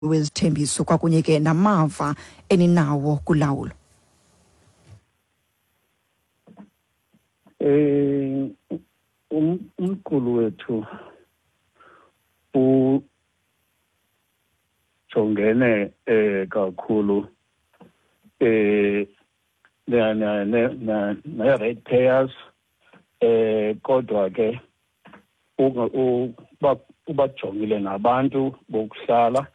Wezithembiso kwakunye ke namava eninawo kulawulo. Umqulu wethu ujongene kakhulu ne-rate payers, kodwa ke ubajongile nabantu bokuhlala,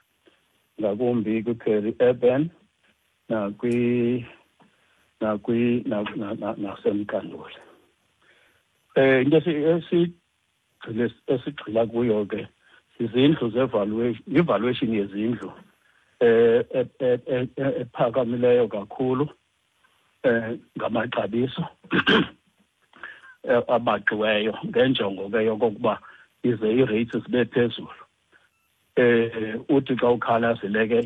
ngakumbi kwi-peri urban nakwi nakwi naseMqanduli. Into esigxila kuyo ke izindlu ze-valuation, i-valuation yezindlu ephakamileyo kakhulu ngamaxabiso abaxiweyo, ngenjongo ke yokokuba ize ii-rates zibe phezulu. Uthi xa ukhalazile ke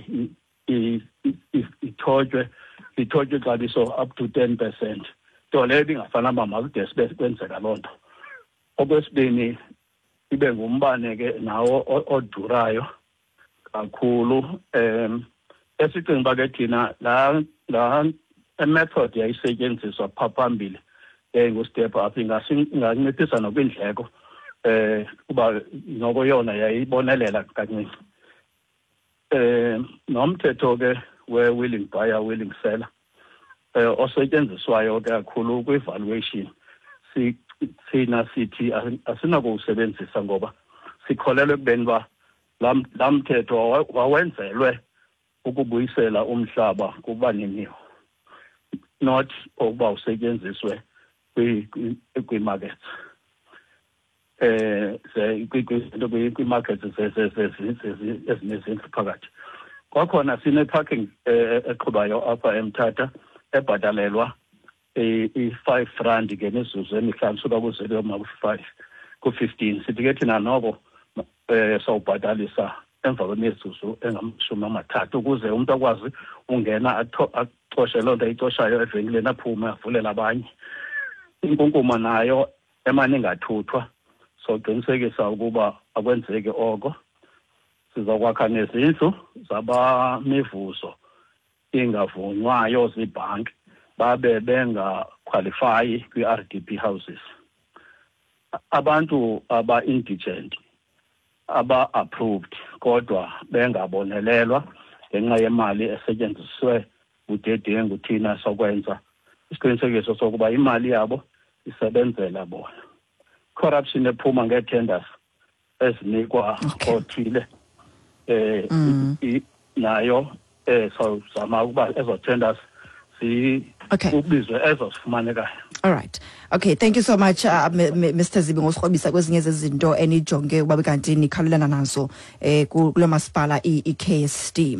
ithotywe ixabiso up to 10%, nto leyo ibingafanele uba makude sibe kwenzeka loo nto. Okwesibini, ibe ngumbane ke nawo odurayo kakhulu, esicinga uba ke thina laa method yayisetyenziswa phaa phambili yayingu-step up inganciphisa nokwindleko, kuba noko yona yayibonelela kancinci. Nomthetho ke we-willing buyer, willing seller, osetyenziswayo ke kakhulu kwi-valuation, thina sithi asinakuwusebenzisa ngoba sikholelwa ekubeni uba laa mthetho wawenzelwe ukubuyisela umhlaba kubaniniwo, not ukuba usetyenziswe kwi-markets, kwi-markets ezinezindlu phakathi. Kwakhona sine-parking eqhubayo apha eMthatha ebhatalelwa i-R5 ngemizuzu emihlanu, suka ku-0 yoma ku-5, ku-15. Sithi ke thina noko sawubhatalisa emva kwemizuzu engamashumi amathathu, ukuze umntu akwazi ungena acoshe loo nto ayicoshayo evenkileni, aphume avulele abanye. Inkunkuma nayo emane ingathuthwa, soqinisekisa ukuba akwenzeki oko. Sizokwakha nezindlu zabamivuzo ingavunywayo ziibhanki, babe bengakhwalifayi kwi-RDP houses. Abantu aba-indigent aba-approved kodwa bengabonelelwa ngenxa yemali esetyenziswe budedengu, thina sokwenza isiqinisekiso sokuba imali yabo isebenzela bona. Corruption ephuma ngee-tenders ezinikwa othile, nayo sawuzama ukuba ezo tenders kubizwe ezo zifumanekayo. All right. Okay, thank you so much, Mr Zibi, ngosikrobisa kwezinye zezinto enijonge ukuba kanti nikhawulelana nazo kulo masipala i-KSD.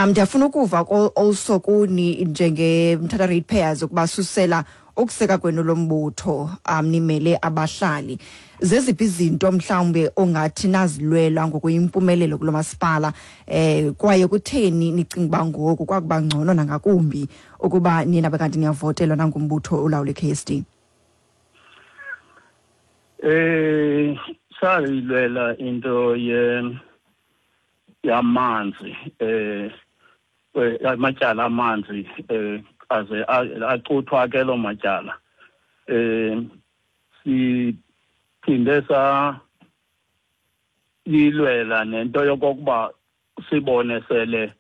Ndiyafuna ukuva also kuni njenge Mthatha Ratepayers ukuba susela ukuseka kwenu lo mbutho, nimele abahlali, zeziphi izinto mhlawumbe ongathi nazilwela ngokuyimpumelelo kulo masipala, kwaye kutheni nicinga uba ngoku kwakuba ngcono nangakumbi ukuba nina bekanti niyavotelwa nangumbutho olawula i-KSD? Sayilwela into ye yamanzi, amatyala amanzi, aze acuthwa ke loo matyala. Siphinde sa lilwela nento yokokuba sibone sele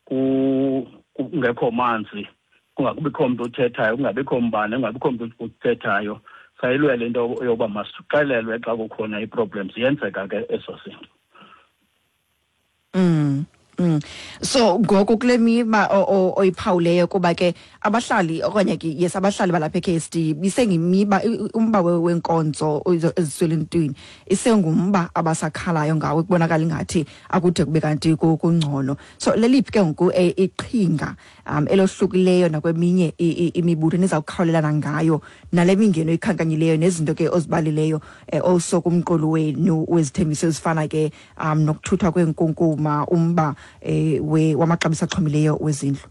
kungekho manzi, kungabikho mntu uthethayo, kungabikho mbane, kungabikho mntu uthethayo. Sayilwela into yokuba masixelelwe xa kukhona ii-problems. Yenzeka ke eso zinto. So ngoku kule miba oyiphawuleyo, kuba ke abahlali okanye ke yes abahlali balapha e-KSD bisengimiba umba wenkonzo eziswelentwini isengumba abasakhalayo ngawo, kubonakala ingathi akude kube kanti kungcono. So leliphi ke ngoku iqhinga elohlukileyo nakweminye imibutho niza kukhawulelana ngayo nale mingeno ikhankanyileyo nezinto ke ozibalileyo, also kumqulu wenu wezithembiso ezifana ke nokuthuthwa kwenkunkuma, umba wamaxabiso axhomileyo wezindlu?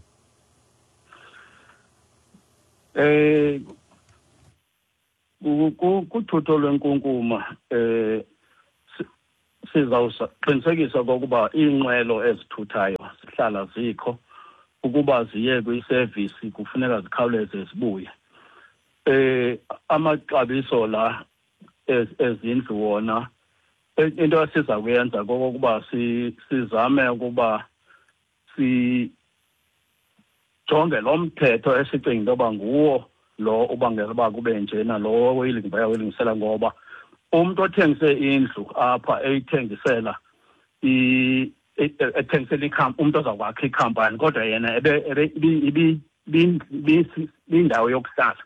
Kuthutho lwenkunkuma, Sizawuqinisekisa okokuba iinqwelo ezithuthayo zihlala zikho, ukuba ziye kwisevisi kufuneka zikhawuleze zibuye. Amaxabiso la ezindlu wona, into esiza kuyenza kokokuba sizame ukuba sijonge lo mthetho esicinga into yoba nguwo lo ubangela uba kube njena, lo bayawilungisela, ngoba umntu othengise indlu apha eyithengisela ethengisela umntu oza kwakha ikhampani, kodwa yena ibindawo yokuhlala,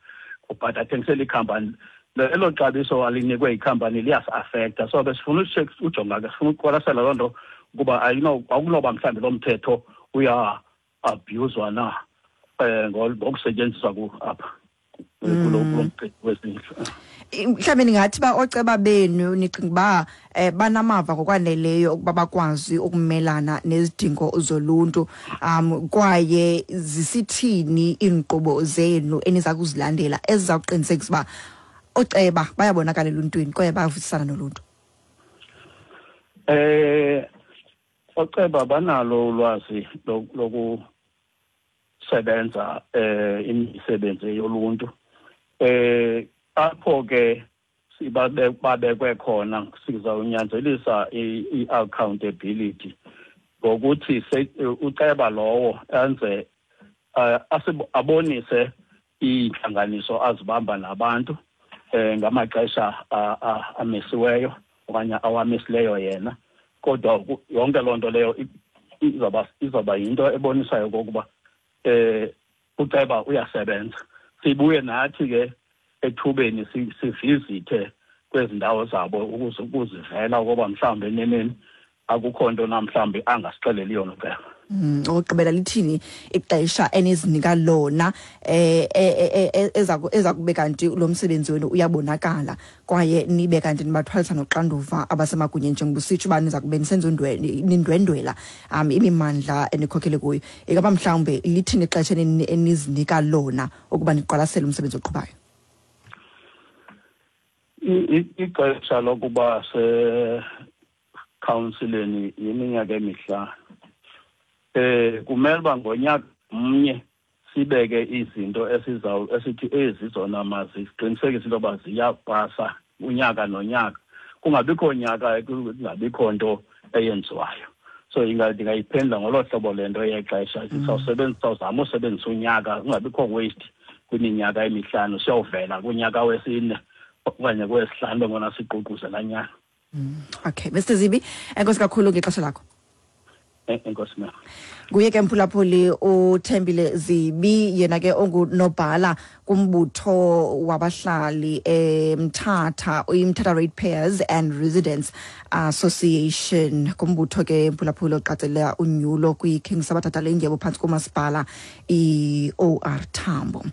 but athengisela ikhampani, elo xabiso alinikwe ikhampani liyasi-afektha. So besifuna ujonga ke, sifuna ukuqwalasela loo nto ukuba akunoba mhlawumbi lo mthetho uya-abhuyuzwa na ngokusetyenziswa apha kulo mcimbi wezindlu. Mhlawumbi ningathi uba ooceba benu nicinga uba banamava ngokwaneleyo ukuba bakwazi ukumelana nezidingo zoluntu, kwaye zisithini iinkqubo zenu eniza kuzilandela eziza kuqinisekisa uba ooceba bayabonakala eluntwini kwaye bayavisisana noluntu? Ooceba banalo ulwazi lokusebenza imisebenzi yoluntu. Apho ke babekwe khona sizawunyanzelisa i-accountability ngokuthi uceba lowo enze abonise iintlanganiso azibamba nabantu ngamaxesha amisiweyo okanye awamisileyo yena, kodwa yonke loo nto leyo izawuba yinto ebonisayo okokuba uceba uyasebenza. Sibuye nathi ke ethubeni sivizithe kwezi ndawo zabo ukuze ukuzivela ukuba mhlawumbi eneneni akukho nto namhlawumbi angasixeleli yona uceba. Okugqibela, lithini ixesha enizinika lona eza kube kanti lo msebenzi wenu uyabonakala kwaye nibe kanti nibathwalisa noxanduva abasemagunyeni, njengoba usitsho uba niza kube nisenza nindwendwela imimandla enikhokhele kuyo? Ingaba mhlawumbe lithini ixesha enizinika lona ukuba niqwalasele umsebenzi oqhubayo? Ixesha lokuba sekhawunsileni yiminyaka 5. Kumele uba ngonyaka mnye sibeke izinto esithi ezi zona maziqinisekise into yoba ziyapasa unyaka nonyaka, kungabikho nyaka kungabikho nto eyenziwayo. So ndingayiphendula ngolo hlobo le nto yexesha. Sawuzama usebenzisa unyaka, kungabikho waste kwiminyaka 5, siyawuvela kunyaka wesine okanye kwesihlanu bengona siququzela nyaka. Okay, Mr Zibi, enkosi kakhulu ngexesha lakho. Enkosi ma'am. Nguye ke mphulaphuli uThembile Zibi, yena ke ongunobhala kumbutho wabahlali eMthatha, iMthatha Ratepayers and Residents Association, kumbutho ke mphulaphuli oqatsela unyulo kwiKing Sabatha Dalindyebo phantsi komasipala i-OR Tambo.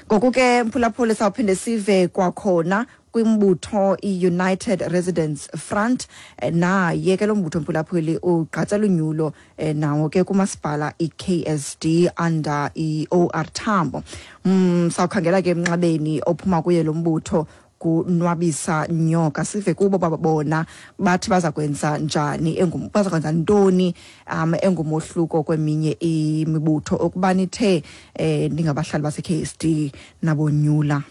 Ngoku ke mphulaphuli sawuphinde sive kwakhona kwimbutho i-United Residents Front, naye ke lo mbutho mphulaphuli ugqatsela unyulo nawo ke kumasipala i-KSD under i-OR Tambo. Sawukhangela ke emnxebeni ophuma kuye lo mbutho kunwabisa Nyoka, sive kubo babona bathi baza kwenza njani, baza kwenza ntoni engumohluko kweminye imibutho ukuba nithe ningabahlali base-KSD nabonyula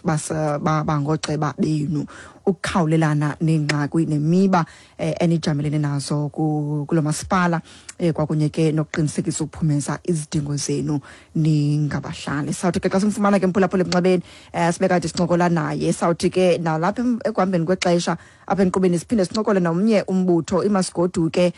bangoceba benu ukukhawulelana neengxaki nemiba enijamelene nazo kulo masipala, kwakunye ke nokuqinisekisa ukuphumeza izidingo zenu ningabahlali. Sawuthi ke xa simfumana ke mphulaphula emnxebeni, sibe kade sincokola naye. Sawuthi ke nalapha ekuhambeni kwexesha apha enkqubeni siphinde sincokole nomnye umbutho iMasigoduke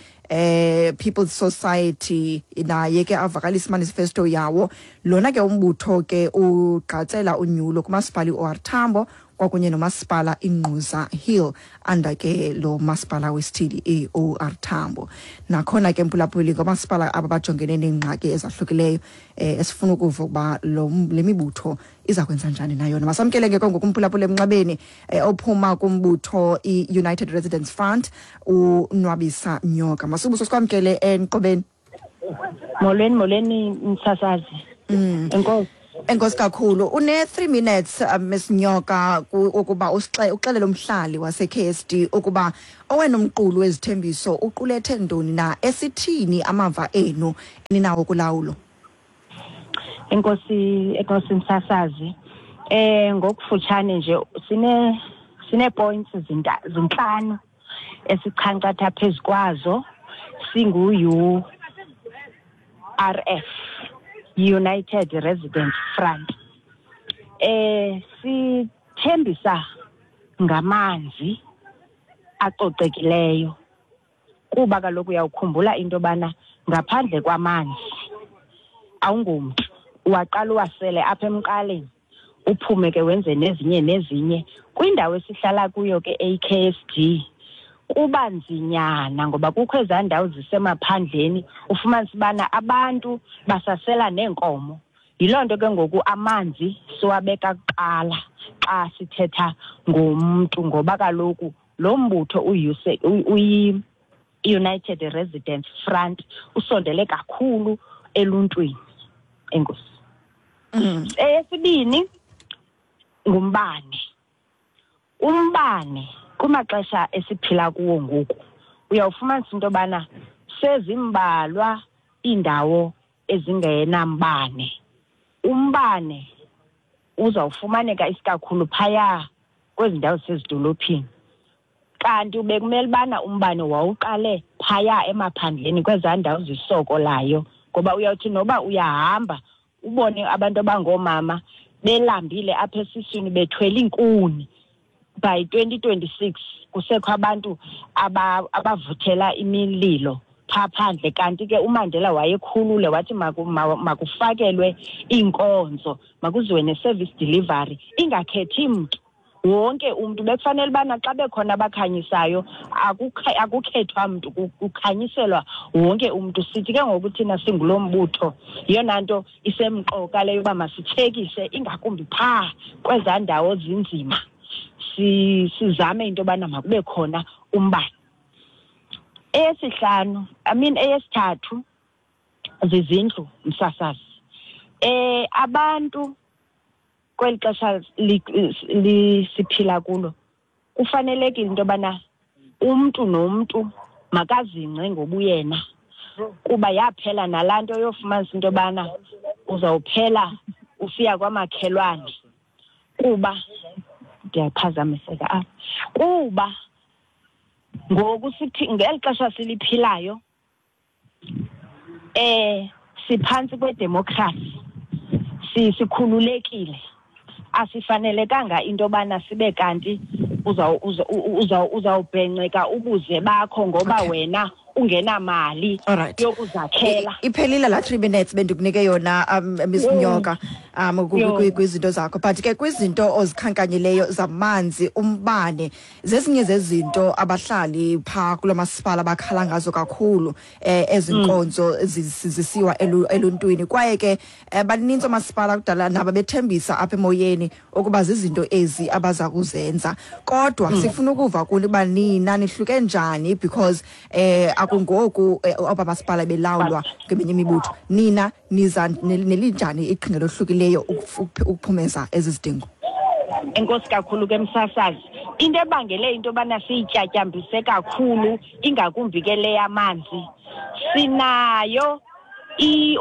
People's Society, naye ke avakalise manifesto yawo. Lona ke umbutho ke ugqatsela unyulo kumasipala i-OR Tambo kwakunye nomasipala iNgquza Hill under ke lo masipala wesithili i-OR Tambo. Nakhona ke mphulaphuli ngomasipala aba bajongene neengxaki ezahlukileyo, esifuna ukuva ukuba le mibutho iza kwenza njani nayona. Masamkele ke ngoku umphulaphuli emnxebeni ophuma kumbutho i-United Residents Front, uNwabisa Nyoka. Masubuso, sikwamkele enkqubeni. Molweni, molweni msasazi. Enkosi. Enkosi kakhulu. Une-3 minutes, Miss Nyoka, ukuba uxelele umhlali wase-KSD ukuba owena umqulu wezithembiso uqulethe ntoni na, esithini amava enu eninawo kulawulo. Enkosi, enkosi msasazi. Ngokufutshane nje sine points zintlanu esichankcatha phezu kwazo singu-URF, United Resident Front. Sithembisa ngamanzi acocekileyo kuba kaloku uyawukhumbula into yobana ngaphandle kwamanzi awungomntu, uwaqala uwasele apha emqaleni, uphume ke wenze nezinye nezinye. Kwindawo esihlala kuyo ke eyi-KSD kuba nzinyana ngoba kukho ezaa ndawo zisemaphandleni, ufumanise ubana abantu basasela neenkomo. Yiloo nto ke ngoku amanzi siwabeka kuqala xa sithetha ngomntu, ngoba kaloku lo mbutho uyi-United Residents Front usondele kakhulu eluntwini. Enkosi. Eyesibini ngumbane. Umbane kumaxesha esiphila kuwo ngoku uyawufumanisa into yobana sezimbalwa iindawo ezingenambane. Umbane uzawufumaneka isikakhulu phaya kwezi ndawo zisezidolophini, kanti bekumele ubana umbane wawuqale phaya emaphandleni kwezaa ndawo zisokolayo, ngoba uyawuthi noba uyahamba ubone abantu abangoomama belambile apha esiswini bethwele iinkuni. By 2026 kusekho abantu abavuthela imililo phaa phandle, kanti ke uMandela wayekhulule wathi makufakelwe iinkonzo, makuziwe ne-service delivery ingakhethi mntu. Wonke umntu bekufanele ubana xa bekhona abakhanyisayo akukhethwa mntu, kukhanyiselwa wonke umntu. Sithi ke ngoku thina singulo mbutho, yeyona nto isemqoka leyo uba masitshekishe ingakumbi phaa kwezaa ndawo zinzima, sizame into yobana makube khona umbane. Eyesihlanu, I mean eyesithathu, zizindlu msasazi. Abantu kweli xesha siphila kulo kufanelekile into yobana umntu nomntu makazingce ngobuyena, kuba yaphela nalaa nto yofumanisa into yobana uzawuphela usiya kwamakhelwane, kuba ndiyaphazamiseka apha, kuba ngoku sithi ngeli xesha siliphilayo siphantsi kwedemokhrasi, sikhululekile, asifanelekanga into yobana sibe kanti uzawubhenceka ubuze bakho ngoba wena ungenamali yokuzakhela. Iphelile laa 3 minutes bendikunike yona, Miss Nyoka, kwizinto zakho, but ke kwizinto ozikhankanyileyo zamanzi, umbane, zezinye zezinto abahlali phaa kulo masipala bakhala ngazo kakhulu, ezi nkonzo zisiwa eluntwini. Kwaye ke baninzi oomasipala kudala nabo bethembisa apha emoyeni ukuba zizinto ezi abaza kuzenza, kodwa sifuna ukuva kuni uba nina nihluke njani, because akungoku aba masipala belawulwa ngeminye imibutho. Nina niza nelinjani iqhinga lohlukileyo ukuphumeza ezi zidingo? Enkosi kakhulu ke msasazi. Into ebangele into yobana siyityatyambise kakhulu ingakumbi ke le yamanzi, sinayo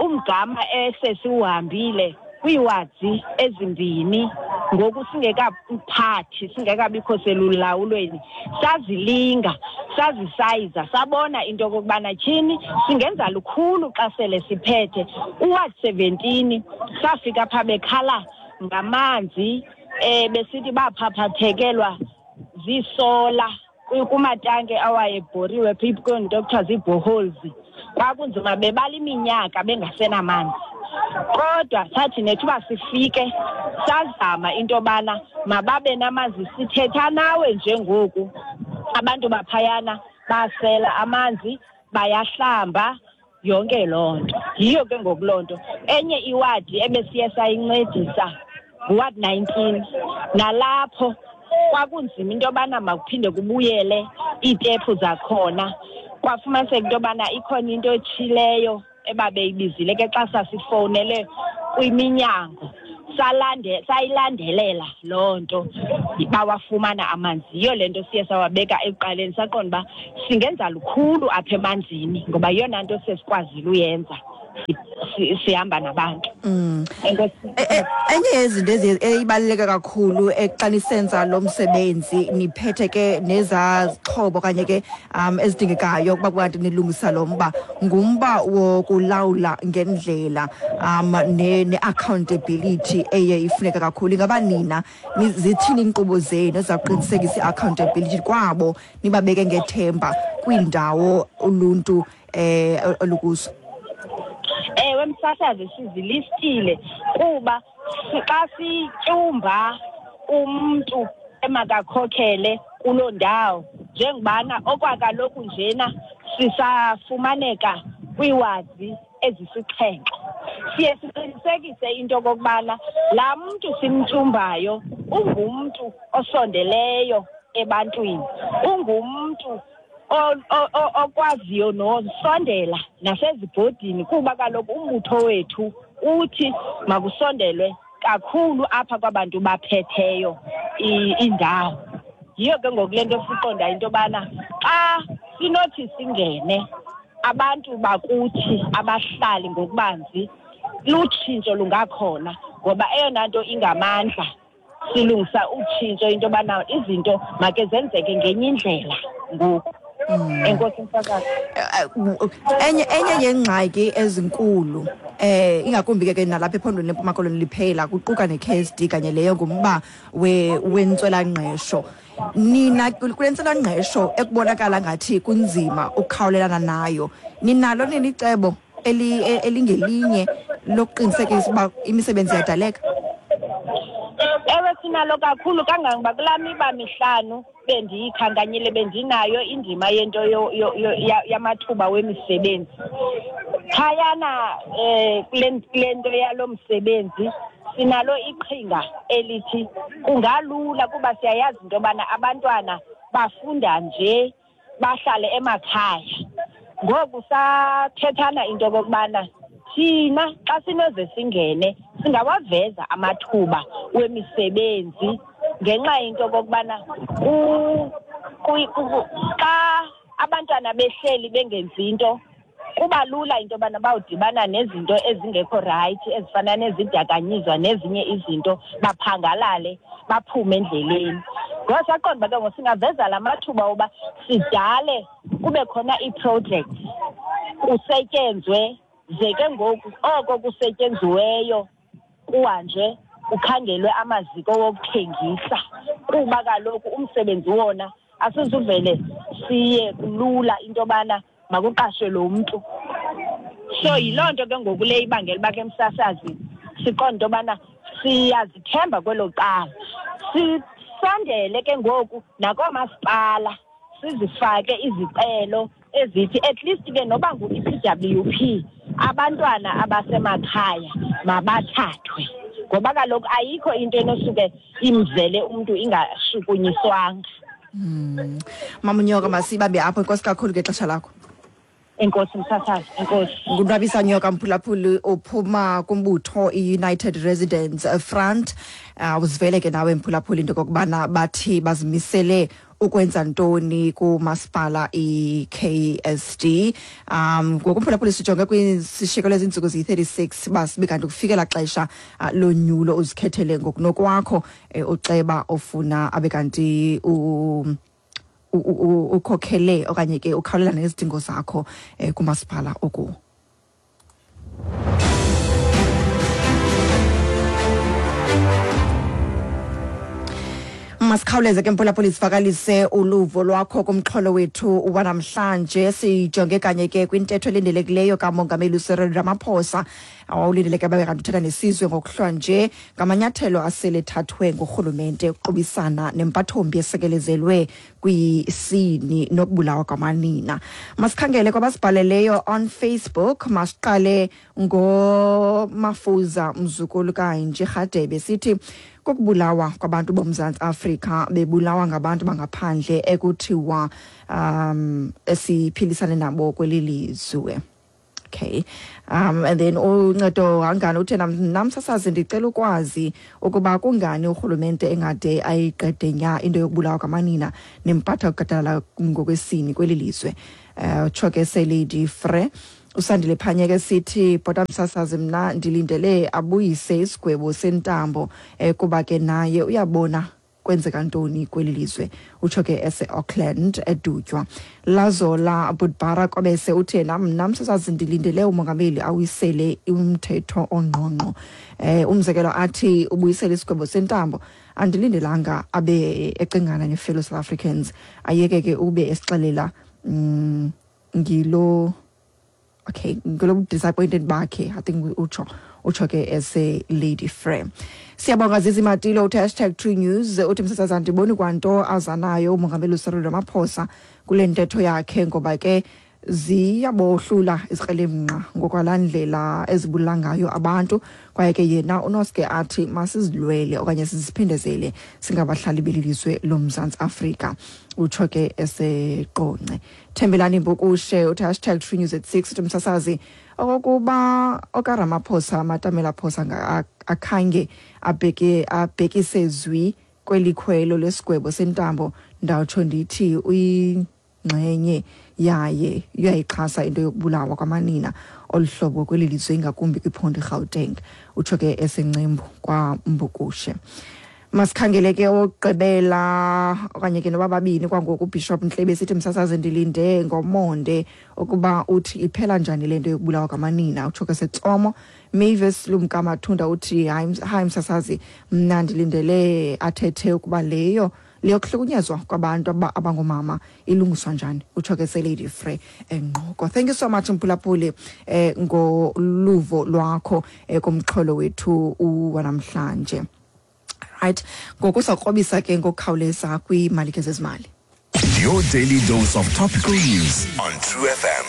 umgama esesiwuhambile kwiiwadzi ezimbini ngoku singekaphathi, singekabikho selulawulweni. Sazilinga, sazisayiza, sabona into yokokubana tyhini singenza lukhulu xa sele siphethe. Uward 17 safika phaa bekhala ngamanzi, besithi baphaphathekelwa ziisola kumatanke awayebhoriwe kwiinto ekuthiwa zii-boreholes. Kwakunzima, bebala iminyaka bengasenamanzi. Kodwa sathi nethuba sifike sazama into yobana mababe namanzi. Sithetha nawe njengoku abantu baphayana basela amanzi, bayahlamba, yonke loo nto. Yiyo ke ngoku loo nto. Enye iwadi ebesiye sayincedisa nguward 19, nalapho kwakunzima into yobana makuphinde kubuyele iitephu zakhona. Kwafumaniseka into yobana ikhona into etshileyo ebabeyibizile ke xa sasifowunele kwiminyango. Sayilandelela loo nto, bawafumana amanzi. Yiyo le nto siye sawabeka ekuqaleni, saqonda uba singenza lukhulu apha emanzini ngoba yeyona nto siye sikwazile uyenza sihamba nabantu. Enye yezinto eyibaluleke kakhulu xa nisenza lo msebenzi, niphethe ke nezaa zixhobo okanye ke ezidingekayo ukuba kanti nilungisa lo mba, ngumba wokulawula ngendlela ne-accountability eye ifuneka kakhulu. Ingaba nina zithini iinkqubo zenu ezizawuqinisekisa i-accountability kwabo nibabeke ngethemba kwiindawo uluntu olukuzo? Ewe, msasazi, sizilistile kuba xa sityumba umntu emakakhokhele kuloo ndawo, njengobana okwakaloku njena sisafumaneka kwiiwazi ezisixhenxe, siye siqinisekise into okokubana laa mntu simtyumbayo ungumntu osondeleyo ebantwini, ungumntu okwaziyo nosondela nasezibhodini, kuba kaloku umbutho wethu uthi makusondelwe kakhulu apha kwabantu baphetheyo indawo. Yiyo ke ngoku le nto siqonda into yobana xa sinothi singene abantu bakuthi abahlali ngokubanzi, lutshintsho lungakhona, ngoba eyona nto ingamandla silungisa utshintsho into yobana izinto make zenzeke ngenye indlela ngoku. Enkosi, msakazi. Enye yengxaki ezinkulu, ingakumbi ke nalapha ephondweni leMpuma Koloni liphela, kuquka ne-KSD kanye leyo, ngumba wentswelangqesho. Nina kule ntswelangqesho ekubonakala ngathi kunzima ukukhawulelana nayo, ninalo nini icebo elingelinye lokuqinisekisa uba imisebenzi iyadaleka? Ewe, sinalo kakhulu, kangangoba kulaa miba mihlanu bendiyikhankanyile bendinayo indima yento yamathuba wemisebenzi. Phayana kule nto yalo msebenzi sinalo iqhinga elithi kungalula, kuba siyayazi into yobana abantwana bafunda nje bahlale emakhaya. Ngoku sathethana into okokubana thina xa sinoze singene singawaveza amathuba wemisebenzi, ngenxa yento okokubana xa abantwana behleli bengenzi into, kuba lula into yobana bawudibana nezinto ezingekho rayithi ezifana nezidakanyizwa nezinye izinto, baphangalale baphume endleleni. Ngoku saqonda uba ke ngoku singaveza la mathuba woba sidale kube khona ii-projects, kusetyenzwe, ze ke ngoku oko kusetyenziweyo kuhanjwe kukhangelwe amaziko wokuthengisa, kuba kaloku umsebenzi wona asizuvele siye kulula into yobana makuqashwe lo mntu. So yiloo nto ke ngoku le ibangela uba ke msasazi siqonde into yobana siyazithemba kwelo cala. Sisondele ke ngoku nakoomasipala, sizifake izicelo ezithi at least ke noba ngu-EPWP, abantwana abasemakhaya mabathathwe, ngoba kaloku ayikho into enosuke imzele umntu ingashukunyiswanga. Mama Nyoka, masibambe apho. Enkosi kakhulu ngexesha lakho. Enkosi, msasazi, enkosi. NguNwabisa Nyoka, mphulaphuli, uphuma kumbutho i-United Residents Front. Uzivele ke nawe, mphulaphuli, into okokubana bathi bazimisele ukwenza ntoni kumasipala i-KSD. Ngoku, mphulaphuli, sijonge kwisishiyeko lezintsuku ziyi-36 basibe kanti kufikela xesha lonyulo, uzikhethele ngokunokwakho uceba ofuna abe kanti ukhokhele okanye ke ukhawulelana nezidingo zakho kumasipala okuwo. Masikhawuleze ke, mphulaphuli, sivakalise uluvo lwakho kumxholo wethu wanamhlanje. Sijonge kanye ke kwintetho elindelekileyo kaMongameli uCyril Ramaphosa, awulindeleke babe kanti uthetha nesizwe ngokuhlwa nje, ngamanyathelo asele ethathwe ngurhulumente ukuqubisana nempathombi esekelezelwe kwisini nokubulawa kwamanina. Masikhangele kwabasibhaleleyo on Facebook. Masiqale ngoMafuza Mzukulu kaNje Rhadebe, sithi kokubulawa kwabantu boMzantsi Afrika bebulawa ngabantu bangaphandle ekuthiwa esiphilisane nabo kweli lizwe. Okay, and then uncedo hangani uthe, nam sasazi ndicela ukwazi ukuba kungani urhulumente engade ayiqede nya into yokubulawa kwamanina nempatha kukatala ngokwesini kweli lizwe. Utsho ke seLady Frere. Usandile Phanyeke sithi, bhota msasazi, mna ndilindele abuyise isigwebo sentambo, kuba ke naye uyabona kwenzeka ntoni kweli lizwe. Utsho ke ese-Auckland eDutywa. Lazola Budbara Kwabese uthe, nam msasazi ndilindele umongameli awisele umthetho ongqongqo, umzekelo athi ubuyisele isigwebo sentambo. Andilindelanga abe ecingana ne-fellow South Africans, ayeke ke ube esixelela ngilo, okay, ngilo disappointed bakhe, I think utsho ke ese Lady Frere. Siyabonga Zizi Matilo uthi #TrueNews, uthi msasazi andiboni kwanto azanayo umongameli uCyril Ramaphosa kule ntetho yakhe, ngoba ke ziyabohlula izikrelemnqa ngokwalaa ndlela ezibulala ngayo abantu, kwaye ke yena unoske athi masizilwele okanye siziphindezele singabahlali beli lizwe loMzantsi Afrika. Utsho ke eseQonce. Thembelani Mbukushe uthi #TrueNews at 6, uthi msasazi okokuba okaRamaphosa Matamela Phosa akhange abhekise zwi kweli khwelo lesigwebo sentambo, ndawutsho ndithi uyingxenye yaye uyayixhasa into yokubulawa kwamanina olu hlobo kweli lizwe, ingakumbi kwiphondo iGauteng. Utsho ke eseNcembu kwaMbukushe. Masikhangele ke okugqibela okanye ke noba babini kwangoku. UBishop Ntlebe sithi, msasazi ndilinde ngomonde ukuba uthi iphela njani le nto yokubulawa kwamanina. Utsho ke seTsomo. Mavis Lumkamathunda uthi, hayi msasazi, mna ndilindele athethe ukuba leyo leyokuhlukunyezwa kwabantu abangomama ilungiswa njani. Utsho ke seLady Frere eNgqoko. Thank you so much mphulaphuli ngoluvo lwakho kumxholo wethu wanamhlanje. Right, ngoku sawukrobisa ke ngokukhawuleza kwiimalike zezimali. Your daily dose of topical news on True FM.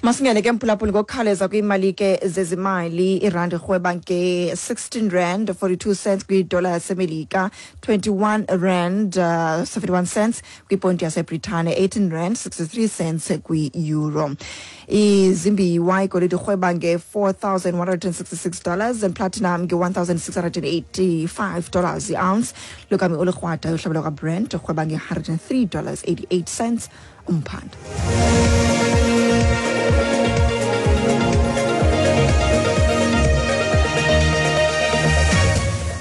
Masingene ke mphulaphuli ngokukhawuleza kwiimalike zezimali. Irandi irhweba nge-16 rand 42 cents kwidola yaseMelika, 21 rand 71 cents kwiponti yaseBritane, 18 rand 63 cents kwi-euro. Izimbiwa, igolide irhweba nge-$4,166 and platinum nge-$1,685 i-ounce. Lukami olukrwada uhlabelo lwakwaBrent irhweba nge-$103 88 cents umphanda.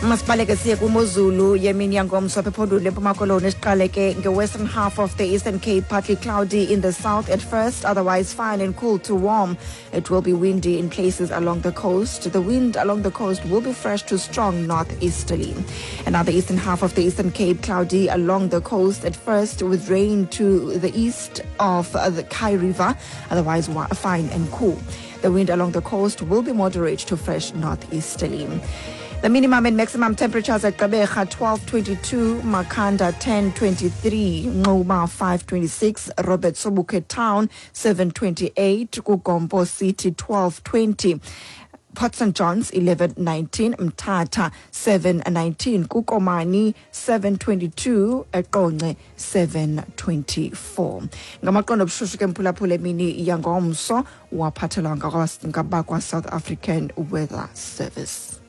Masibaleke siye kwimozulu yemini yangomso apha ephondweni leMpuma Koloni. Siqale ke nge-western half of the Eastern Cape: partly cloudy in the south at first, otherwise fine and cool to warm. It will be windy in places along the coast. The wind along the coast will be fresh to strong northeasterly. And now the eastern half of the Eastern Cape: cloudy along the coast at first with rain to the east of the Kei River, otherwise fine and cool. The wind along the coast will be moderate to fresh northeasterly. The minimum and maximum temperatures at Gqeberha 12:22, Makhanda 10:23, Nquma 5:26, Robert Sobukwe Town 7:28, KuGompo City 12:20. Port St Johns 11:19, Mthatha 7:19, kuKomani 7:22, eQonce 7:24. Ngamaqondo obushushu ke mphulaphula emini yangomso waphathelwa ngabakwa South African Weather Service.